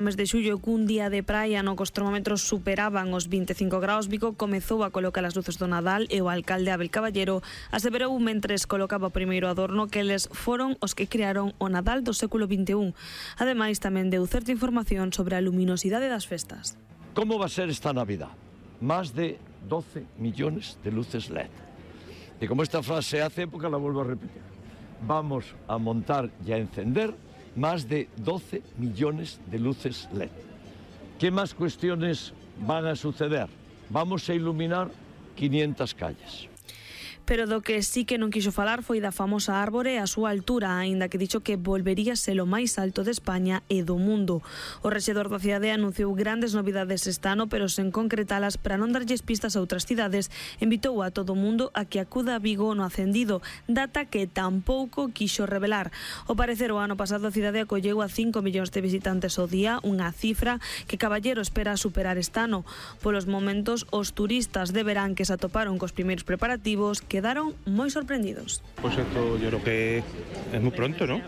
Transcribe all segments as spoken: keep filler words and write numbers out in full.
Mes de xullo, cun día de praia no que os termómetros superaban os vinte e cinco graus, Vigo comezou a colocar as luces do Nadal e o alcalde Abel Caballero aseverou mentres colocaba o primeiro adorno que eles foron os que crearon o Nadal do século vinte e un. Ademais, tamén deu certa información sobre a luminosidade das festas. Como va a ser esta Navidad? Más de doce millones de luces L E D. Y como esta frase hace época, la vuelvo a repetir. Vamos a montar y a encender más de doce millones de luces L E D. ¿Qué más cuestiones van a suceder? Vamos a iluminar quinientas calles. Pero do que sí que non quixo falar foi da famosa árbore e a súa altura, aínda que dixo que volvería ser o máis alto de España e do mundo. O rexedor da cidade anunciou grandes novidades este ano, pero sen concretalas para non darlles pistas a outras cidades, invitou a todo o mundo a que acuda a Vigo no Acendido, data que tampouco quixo revelar. Ao parecer, o ano pasado a cidade acolleu a cinco millóns de visitantes ao día, unha cifra que Caballero espera superar este ano. Polos momentos, os turistas de verán que se atoparon cos primeiros preparativos quedaron moi sorprendidos. Pues esto yo creo que es muy pronto, ¿no?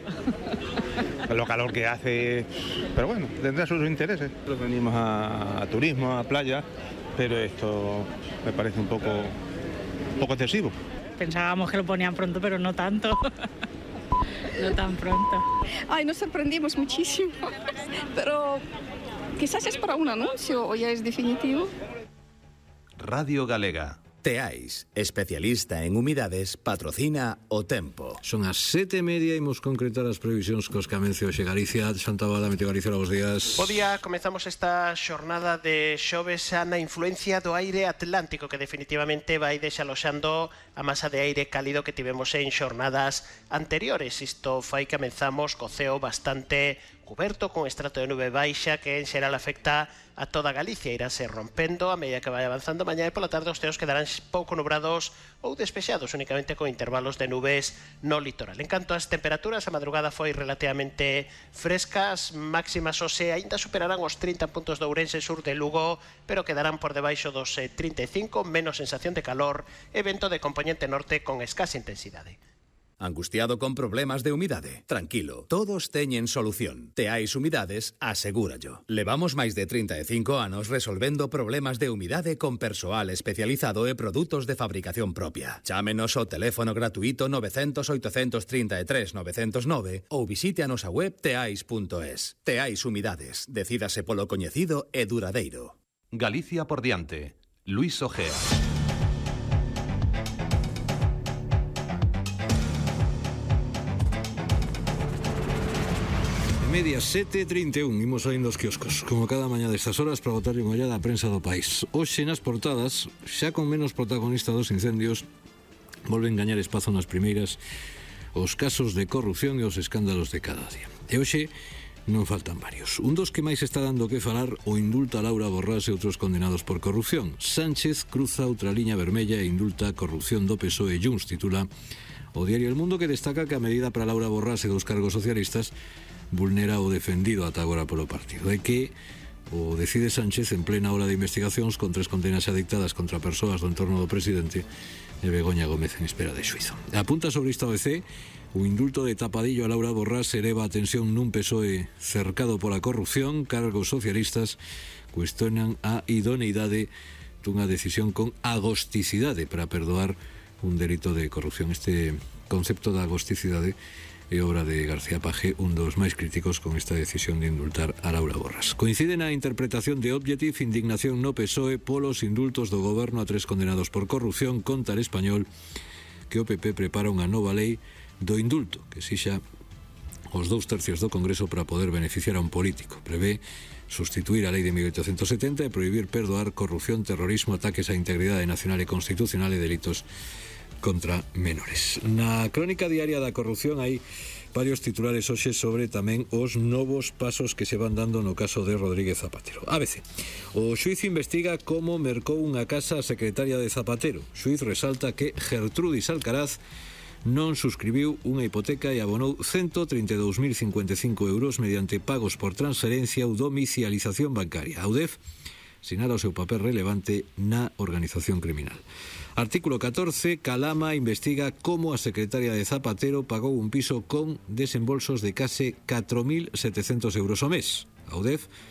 Lo calor que hace, pero bueno, tendrá sus intereses. Venimos a, a turismo, a playa, pero esto me parece un poco, un poco excesivo. Pensábamos que lo ponían pronto, pero no tanto. No tan pronto. Ay, nos sorprendimos muchísimo, pero quizás es para un anuncio o ya es definitivo. Radio Galega. Teais, especialista en humidades, patrocina o tempo. Son as sete e media e imos concretar as previsións cos que amencio hoxe Galicia. Santa Bada, Meteo Galicia, bos días. Bo día, comezamos esta xornada de xoves na influencia do aire atlántico que definitivamente vai desaloxando a masa de aire cálido que tivemos en xornadas anteriores. Isto fai que comezamos co ceo bastante cuberto con estrato de nube baixa que en xeral afecta a toda Galicia. Irase rompendo a medida que vai avanzando mañá e pola tarde os ceos quedarán pouco nubrados ou despexados, únicamente con intervalos de nubes no litoral. En canto ás temperaturas, a madrugada foi relativamente frescas, máximas hoxe aínda superarán os trinta puntos de Ourense, sur de Lugo, pero quedarán por debaixo dos trinta e cinco, menos sensación de calor e vento de componente norte con escasa intensidade. Angustiado con problemas de humidade? Tranquilo, todos teñen solución. Teais Humidades, asegúrallo. Levamos máis de trinta e cinco anos resolvendo problemas de humidade con persoal especializado e produtos de fabricación propia. Chámenos ao teléfono gratuito nove cero cero, oito tres tres, nove cero nove ou visite a nosa web teais punto es. Teais Humidades, decídase polo coñecido e duradeiro. Galicia por diante. Luis Ojea. Media sete e trinta e un, imos saindo os quioscos como cada mañá destas horas para botarlle unha ollada á prensa do país. Hoxe nas portadas, xa con menos protagonista dos incendios, volven gañar espazo nas primeiras os casos de corrupción e os escándalos de cada día. E hoxe non faltan varios. Un dos que máis está dando que falar o indulta a Laura Borrás e outros condenados por corrupción. Sánchez cruza outra liña vermella e indulta a corrupción do P S O E. Junts, titula o diario El Mundo, que destaca que a medida para Laura Borrás e dos cargos socialistas vulnera o defendido ata agora polo partido, e que o decide Sánchez en plena ola de investigacións con tres condenas xa dictadas contra persoas do entorno do presidente e Begoña Gómez en espera de xuizo. Apunta sobre esta O B C o indulto de tapadillo a Laura Borrás eleva a tensión nun P S O E cercado pola corrupción. Cargos socialistas cuestionan a idoneidade dunha decisión con agosticidade para perdoar un delito de corrupción. Este concepto da agosticidade é obra de García Paje, un dos máis críticos con esta decisión de indultar a Laura Borrás. Coincide na interpretación de Objective indignación no P S O E polos indultos do goberno a tres condenados por corrupción. Conta El Español que o P P prepara unha nova lei do indulto que exixa os dous tercios do Congreso para poder beneficiar a un político. Prevé sustituir a lei de mil oitocentos setenta e prohibir perdoar corrupción, terrorismo, ataques á integridade nacional e constitucional e delitos contra menores. Na crónica diaria da corrupción hai varios titulares hoxe sobre tamén os novos pasos que se van dando no caso de Rodríguez Zapatero. A B C. O xuíz investiga como mercou unha casa a secretaria de Zapatero. O xuíz resalta que Gertrudis Alcaraz non suscribiu unha hipoteca e abonou ciento trinta e dous mil cincuenta e cinco euros mediante pagos por transferencia ou domicialización bancaria. A U D E F sinala o seu papel relevante na organización criminal. Artículo catorce. Calama investiga como a secretaria de Zapatero pagou un piso con desembolsos de case catro mil setecentos euros ao mes. A UDEF